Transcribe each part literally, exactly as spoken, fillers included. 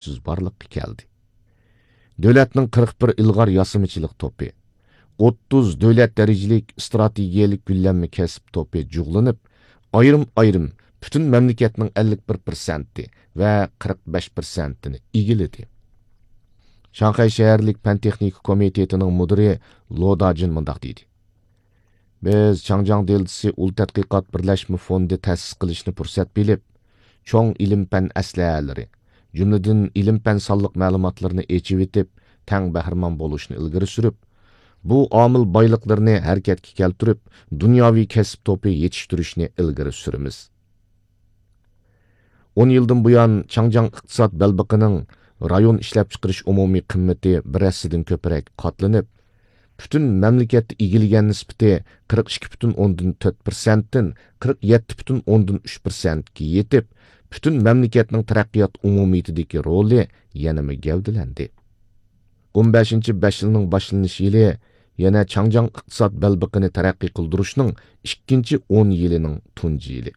ئۈزلۈكسىز بارلىققا كەلدى. دۆلەتنىڭ قىرىق بىر ئىلغار ياسىمىچىلىق توپى، ئوتتۇز دۆلەت دەرىجىلىك ئىستراتېگىيەلىك گۈللەنمە كەسىپ توپى جۇغلىنىپ، ئايرىم-ئايرىم پۈتۈن مەملىكەتنىڭ ئەللىك بىر پىرسەنتى ۋە قىرىق بەش پىرسەنتىنى ئىگىلىدى. شاڭخەي شەھەرلىك پەن تېخنىكا كومىتېتىنىڭ مۇدىرى لو داجىن مۇنداق دېدى: بىز چاڭجياڭ دېلتىسى ئۇل تەتقىقات بىرلەشمە فوندى تەسىس قىلىشنى پۇرسەت بىلىپ، چوڭ ئىلىم-پەن ئەسلىھەلىرى، جۈملىدىن ئىلىم-پەن سانلىق مەلۇماتلىرىنى ئېچىۋېتىپ، تەڭ بەھرىمەن بولۇشنى ئىلگىرى سۈرۈپ، بۇ ئامىل بايلىقلىرىنى ھەرىكەتكە كەلتۈرۈپ، دۇنياۋى كەسىپ توپى يېتىشتۈرۈشنى ئىلگىرى سۈرىمىز. ئون يىلدىن بۇيان، چاڭجياڭ ئىقتىساد بەلبېقىنىڭ رايون ئىشلەپچىقىرىش ئومۇمىي قىممىتى بىر ھەسسىدىن كۆپرەك قاتلىنىپ، پۈتۈن مەملىكەتتە ئىگىلىگەن نىسبىتى قىرىق ئىككى پۈتۈن ئوندىن تۆت پىرسەنتتىن قىرىق يەتتە پۈتۈن ئوندىن ئۈچ پىرسەنتكە يېتىپ، پۈتۈن مەملىكەتنىڭ تەرەققىيات ئومۇمىيىتىدىكى رولى يەنىمۇ گەۋدىلەندى. ئون بەشىنچى بەش يىلنىڭ باشلىنىش يىلى يەنە چاڭجياڭ ئىقتىساد بەلبېقىنى تەرەققىي قىلدۇرۇشنىڭ ئىككىنچى ئون يىلىنىڭ تۇنجى يىلى.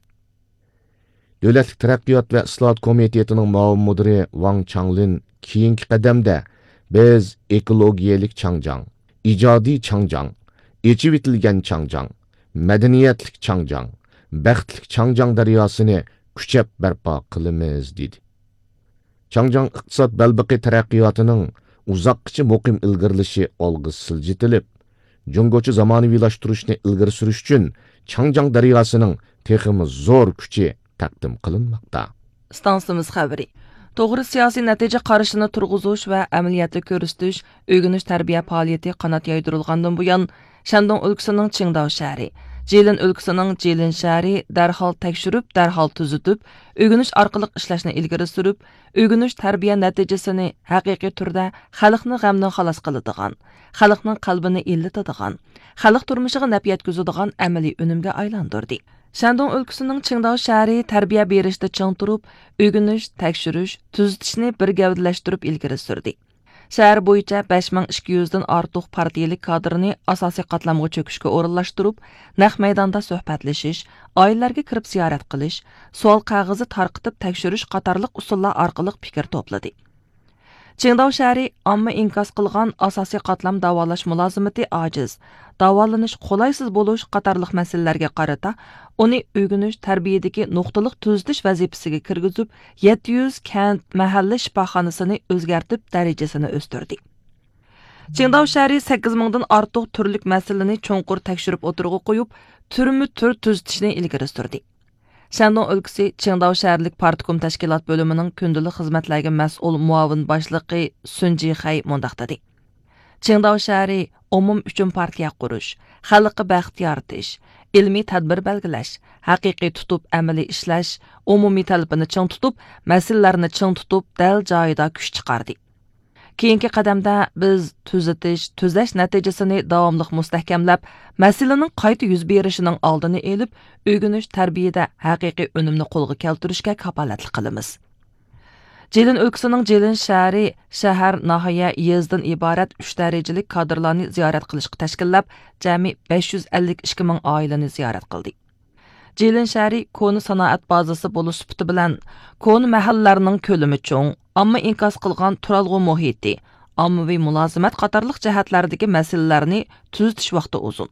دۆلەتلىك تەرەققىيات ۋە ئىسلاھات كومىتېتىنىڭ مۇئاۋىن مۇدىرى ۋاڭ چاڭلىن كېيىنكى قەدەمدە بىز ئېكولوگىيەلىك چاڭجياڭ، ئىجادىي چاڭجياڭ، ئېچىۋېتىلگەن چاڭجياڭ، مەدەنىيەتلىك چاڭجياڭ، بەختلىك چاڭجياڭ دەرياسىنى كۈچەپ بەرپا قىلىمىز، دېدى. چاڭجياڭ ئىقتىساد بەلبېقى تەرەققىياتىنىڭ ئۇزاققىچە مۇقىم ئىلگىرىلىشى ئالغا سىلجىتىلىپ، جۇڭگوچە زامانىۋىلاشتۇرۇشنى ئىلگىرى سۈرۈش ئۈچۈن چاڭجياڭ دەرياسىنىڭ تېخىمۇ زور كۈچى تەقدىم قىلىنماقتا. ئىستانسىمىز خەۋىرى. توغرا سىياسىي نەتىجە قارىشىنى تۇرغۇزۇش ۋە ئەمەلىيەتتە كۆرسىتىش، ئۆگىنىش تەربىيە پائالىيىتى قانات يايدۇرۇلغاندىن بۇيان، شەندۇڭ ئۆلكىسىنىڭ چىڭداۋ شەھىرى، جىلىن ئۆلكىسىنىڭ جىلىن شەھىرى دەرھال تەكشۈرۈپ، دەرھال تۈزىتىپ، ئۆگىنىش ئارقىلىق ئىشلەشنى ئىلگىرى سۈرۈپ، ئۆگىنىش تەربىيە نەتىجىسىنى ھەقىقىي تۈردە خەلقنى غەمدىن خالاس قىلىدىغان، خەلقنىڭ قەلبىنى ئىللىتىدىغان، خەلق تۇرمۇشىغا نەپ يەتكۈزىدىغان ئەمەلىي ئۈنۈمگە ئايلاندۇردى. شەندۇڭ ئۆلكىسىنىڭ چىڭداۋ شەھىرى تەربىيە بېرىشتە چىڭ تۇرۇپ، ئۆگىنىش، تەكشۈرۈش، تۈزىتىشنى بىر گەۋدىلەشتۈرۈپ ئىلگىرى سۈردى. شەھەر بويىچە بەش مىڭ ئىككى يۈزدىن ئارتۇق پارتىيىلىك كادىرنى ئاساسىي قاتلامغا چۆكۈشكە ئورۇنلاشتۇرۇپ، نەق مەيداندا سۆھبەتلىشىش، ئائىلىلەرگە كىرىپ زىيارەت قىلىش، سوئال قەغىزى تارقىتىپ تەكشۈرۈش قاتارلىق ئۇسۇللار ئارقىلىق پىكىر توپلىدى. چىڭداۋ شەھىرى ئامما ئىنكاس قىلغان ئاساسىي قاتلام داۋالاش مۇلازىمىتى ئاجىز، داۋالىنىش قولايسىز بولۇش قاتارلىق مەسىلىلەرگە قارىتا، ئۇنى ئۆگىنىش، تەربىيەدىكى نۇقتىلىق تۈزىتىش ۋەزىپىسىگە كىرگۈزۈپ، يەتتە يۈز كەنت، مەھەللە شىپاخانىسىنى ئۆزگەرتىپ، دەرىجىسىنى ئۆستۈردى. چىڭداۋ شەھىرى سەككىز مىڭدىن ئارتۇق تۈرلۈك مەسىلىنى چوڭقۇر تەكشۈرۈپ ئوتتۇرىغا قويۇپ، تۈرمۇ تۈر تۈزىتىشنى ئىلگىرى سۈردى. شەندۇڭ ئۆلكىسى چىڭداۋ شەھەرلىك پارتكوم تەشكىلات بۆلۈمىنىڭ كۈندىلىك خىزمەتلەرگە مەسئۇل مۇئاۋىن باشلىقى سۈن جىخەي مۇنداق دېدى: چىڭداۋ شەھىرى ئومۇم ئۈچۈن پارتىيە قۇرۇش، خەلققە بەخت يارىتىش، ئىلمىي تەدبىر بەلگىلەش، ھەقىقىي تۇتۇپ ئەمەلىي ئىشلەش، ئومۇمىي تەلىپىنى چىڭ تۇتۇپ، مەسىلىلەرنى چىڭ تۇتۇپ، دەل جايىدا كۈچ چىقاردى. كېيىنكى قەدەمدە بىز تۈزىتىش، تۈزەش نەتىجىسىنى داۋاملىق مۇستەھكەملەپ، مەسىلىنىڭ قايتا يۈز بېرىشىنىڭ ئالدىنى ئېلىپ، ئۆگىنىش، تەربىيەدە ھەقىقىي ئۈنۈمنى قولغا كەلتۈرۈشكە كاپالەتلىك قىلىمىز. جىلىن ئۆلكىسىنىڭ جىلىن شەھىرى شەھەر، ناھىيە، يېزىدىن ئىبارەت ئۈچ دەرىجىلىك كادىرلارنى زىيارەت قىلىشقا تەشكىللەپ، جەمئىي بەش يۈز ئەللىك ئىككى مىڭ ئائىلىنى زىيارەت قىلدى. جىلىن شەھىرى كونا سانائەت بازىسى بولۇش سۈپىتى بىلەن، كونا مەھەللىلەرنىڭ كۆلىمى چوڭ، ئامما ئىنكاس قىلغان تۇرالغۇ مۇھىتى، ئاممىۋى مۇلازىمەت قاتارلىق جەھەتلەردىكى مەسىلىلەرنى تۈزىتىش ۋاقتى ئۇزۇن.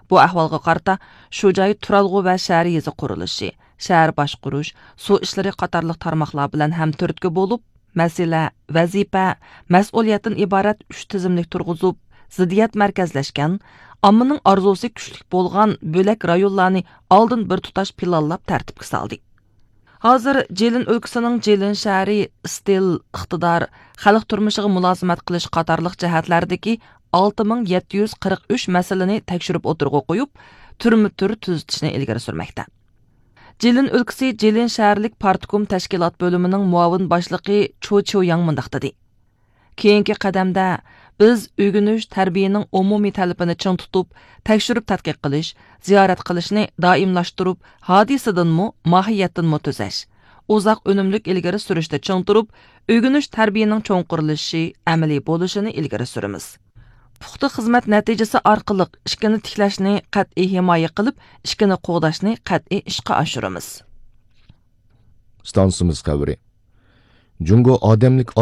بۇ ئەھۋالغا قارىتا، شۇ جاي تۇرالغۇ ۋە شەھەر يېزا قۇرۇلۇشى، شەھەر باشقۇرۇش، سۇ ئىشلىرى قاتارلىق تارماقلار بىلەن ھەمتۈرتكە بولۇپ، مەسىلە، ۋەزىپە، مەسئۇلىيەتتىن ئىبارەت ئۈچ تىزىملىك تۇرغۇزۇپ، زىددىيەت مەركەزلەشكەن، ئاممىنىڭ ئارزۇسى كۈچلۈك بولغان بۆلەك رايونلارنى ئالدىن بىر تۇتاش پىلانلاپ تەرتىپكە سالدى. ھازىر جىلىن ئۆلكىسىنىڭ جىلىن شەھىرى ئىستىل، ئىقتىدار، خەلق تۇرمۇشىغا مۇلازىمەت قىلىش قاتارلىق جەھەتلەردىكى ئالتە مىڭ يەتتە يۈز قىرىق ئۈچ مەسىلىنى تەكشۈرۈپ ئوتتۇرىغا قويۇپ، تۈرمە تۈر تۈزىتىشنى ئىلگىرى سۈرمەكتە. جىلىن ئۆلكىسى جىلىن شەھەرلىك پارتكوم تەشكىلات بۆلۈمىنىڭ مۇئاۋىن باشلىقى چو چيۇياڭ مۇنداق دېدى: كېيىنكى قەدەمدە بىز ئۆگىنىش، تەربىيەنىڭ ئومۇمىي تەلىپىنى چىڭ تۇتۇپ، تەكشۈرۈپ تەتقىق قىلىش، زىيارەت قىلىشنى دائىملاشتۇرۇپ، ھادىسىدىنمۇ، ماھىيەتتىنمۇ تۈزەش، ئۇزاق ئۈنۈملۈك ئىلگىرى سۈرۈشتە چىڭ تۇرۇپ، ئۆگىنىش، تەربىيەنىڭ چوڭقۇرلىشىشى، ئەمەلىي بولۇشىنى ئىلگىرى سۈرىمىز. پۇختا خىزمەت نەتىجىسى ئارقىلىق ئىككىنى تىكلەشنى قەتئىي ھىمايە قىلىپ، ئىككىنى قوغداشنى قەتئىي ئىشقا ئاشۇرىمىز. ئىستانسىمىز خەۋىرى. جۇڭگو ئادەملىك